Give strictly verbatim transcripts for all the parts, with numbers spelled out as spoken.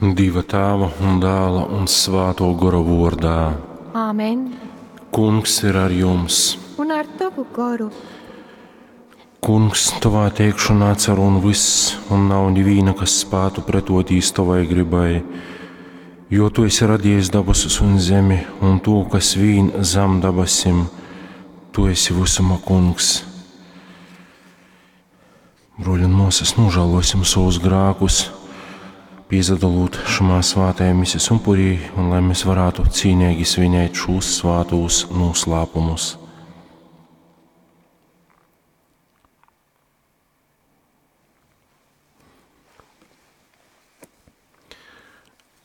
Dieva Tēva un Dēla un Svāto Gora vordā. Āmen. Kungs ir ar jums. Un ar tavu goru. Kungs, tavā teikšanā cer un viss, un nav neviena, kas spētu pretotīs tavai gribai. Jo tu esi radījis dabasus un zemi, un to, kas vīn zem dabasim, tu esi visuma kungs. Broļi un māsas, nožēlosim savus grēkus, piezadalot šamā svātajā mises upurī, un lai mēs varētu cīnīgi svinēt šos svātos noslēpumus.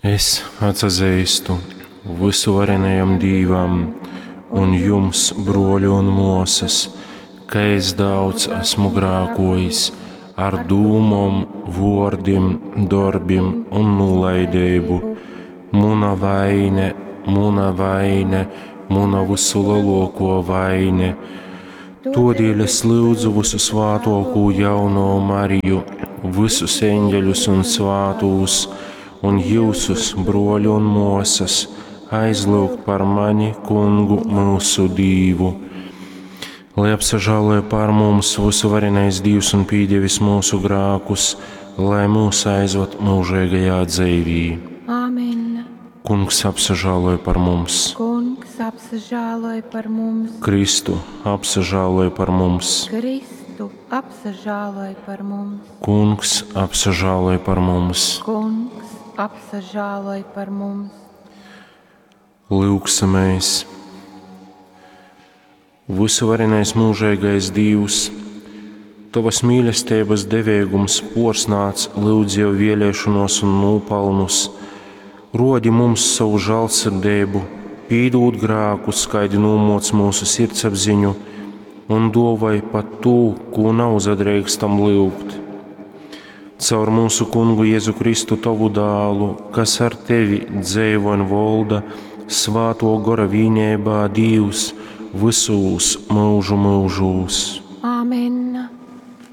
Es atsazīstu visuvarenajam Dīvam un jums, broļi un māsas, ka es daudz esmu grēkojis ar dūmom, vōrdim, dorbim un nolaidību. Muna vaine, muna vaine, muna visu lielāko vaine. Todēļ es lūdzu visu svātoko jauno Mariju, visus eņģeļus un svātūs, un jūsus, broļi un māsas, aizlūgt par mani, kungu mūsu Dīvu. Lai apsažāloja pār mums visu varenais Dievs un pīdievis mūsu grākus, lai mūs aizvad mūžīgajā dzīvī. Āmen. Kungs apsažāloja par mums. Kungs apsažāloja par mums. Kristu apsažāloja par mums. Kristu apsažāloja par mums. Kungs apsažāloja par mums. Kungs apsažāloja par mums. Lūgsimies! Visuvarenais mūžīgais Dievs, Tavas mīlestības devēgums porsnāc lūdz jau vēlēšanos un nopelnus, rodi mums savu žēlsirdību, pīdūt grākus, skaidi nūmoc mūsu sirdsapziņu un dovai pat tū, ko nav zadrīkstam lūgt. Caur mūsu kungu Jēzu Kristu tavu dālu, kas ar tevi dzēvo un volda, svāto gora vīnībā Dievs, visūs mūžu mūžūs.